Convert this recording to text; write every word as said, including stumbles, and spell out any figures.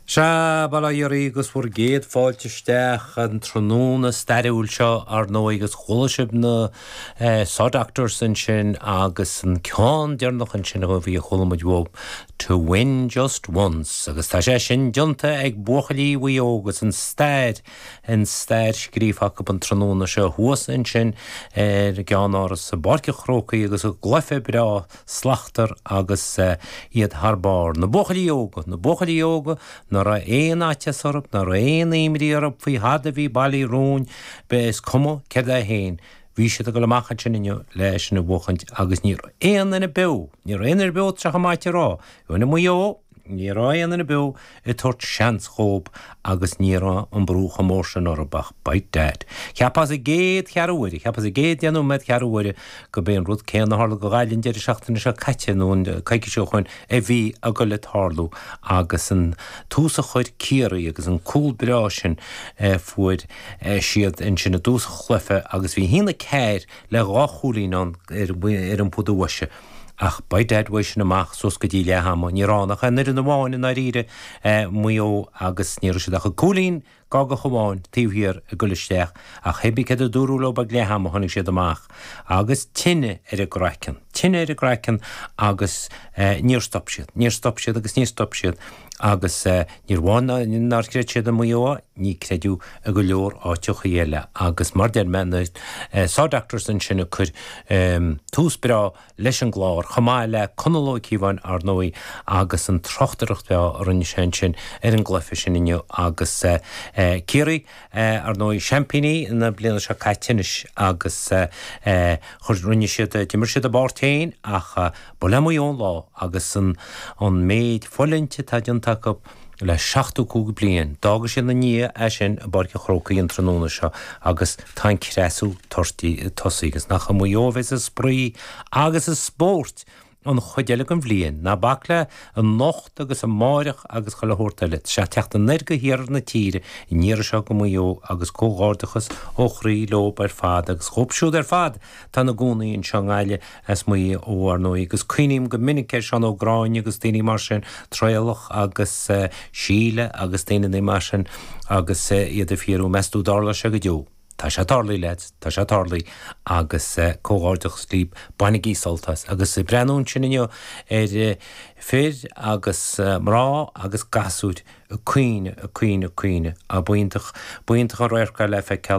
Sea, bail ó Dhia oraibh agus bhur gcéad fáilte isteach an tráthnóna stairiúil seo ar ndóigh agus chuala sibh na Saw Doctors ansin agus an ceann deireanach ansin a bhí a chuala muid uaidh To Win Just Once agus tá sé sin déanta ag buachaillí Mhaigh Eo agus an stair an stair scríofa acu an tráthnóna seo thuas ansin ar gceannáras i bPáirc an Chrócaigh agus a gcluiche breá slachtmhar agus iad thar barr. Na buachaillí óga, na buachaillí óga ná raibh aon fhaitíos orthu, ná raibh aon imní orthu faoi thada a bhí bailithe romhainn, is cuma céard é féin. Bhí siad ag dul amach ansin inniu le sin a bhuachaint agus ní raibh aon duine beo, ní raibh aon duine beo tá sé chomh maith a rá. Bhí Maigh Eo, ní raibh aon duine beo ag tabhairt seans dhóibh agus ní raibh an brú chomh mór sin orthu ach by dad. Cheapfá sa gcéad cheathrú uaire, cheapfá sa gcéad deich nóiméad ceathrú uaire go b'é an rud céanna a tharla go Gaillimh an deireadh seachtaine seo caite nó an coicís ó shin a bhí ag dul ag tarlú agus an tús a chuir Ciarraí agus an cúl breá sin fuair siad ansin i dtús an chluiche agus bhí haon a ceathair le dhá chúilín ann ar an pota bhoise. Ach by dad uaidh sin amach suas go dtí leath ama, ní raibh ann ach aon fhoireann amháin i ndáiríre, Maigh Eo, agus ní raibh siad ach cúilín gágach amháin taobh thiar ag dul isteach ach hé bí céard a dúradh leo ag leath ama tháinig siad amach agus tine ar a gcraiceann, tine ar a gcraiceann agus níor stop siad, níor stop siad agus níor stop siad agus níor amháin nár chreid siad i Maigh Eo, ní creideadh i go leor áiteachaí eile agus mar deir mé na Saw Doctors ansin ag cur tús breá leis an gclár, chomh maith le Conall Ó Cíobháin ar ndóigh agus an tráchtaireacht bhreá a rinne sé ansin ar an gcluiche sin inniu agus Ciarraí ar ndóigh seaimpíní na bliana seo caite anois agus chuir rinne siad d'imir siad a bpáirt féin ach ba le Maigh Eo an lá agus an an méid fulaingt atá déanta acu le seachtó cúig bliain. D'fhága siad ina ndiaidh é sin i bPáirc an Chrócaigh an tráthnóna seo agus tá an creasadh tosaithe agus nach i Maigh Eo a bheas an spraoi agus an spórt an chuid eile den bhliain. Ná bac le anocht agus amáireach agus chuile shórt eile. Tá sé ag teacht anoir go hiarthar na tíre an iarraidh seo go Maigh Eo agus comhghairdeachas ó chroí leo ar fad agus dhóibh siúd ar fad atá ina gcónaí anseo i nGaillimh as Maigh Eo ar ndóigh agus cuimhním go minic ar Seán Ó Gráinne agus daoine mar sin, Traolach agus Síle agus daoine mar sin agus iad ag fiafraí meas tú dtarlóidh sé go deo. Tá sé tarlaithe lads, tá sé tarlaithe agus comhghairdeachas libh, bainigí sult as. Agus ag breathnú ansin inniu ar fir agus mná agus gasúir ag caoineadh, ag caoineadh, ag caoineadh. B'iontach, b'iontach an radharc é le feiceáil.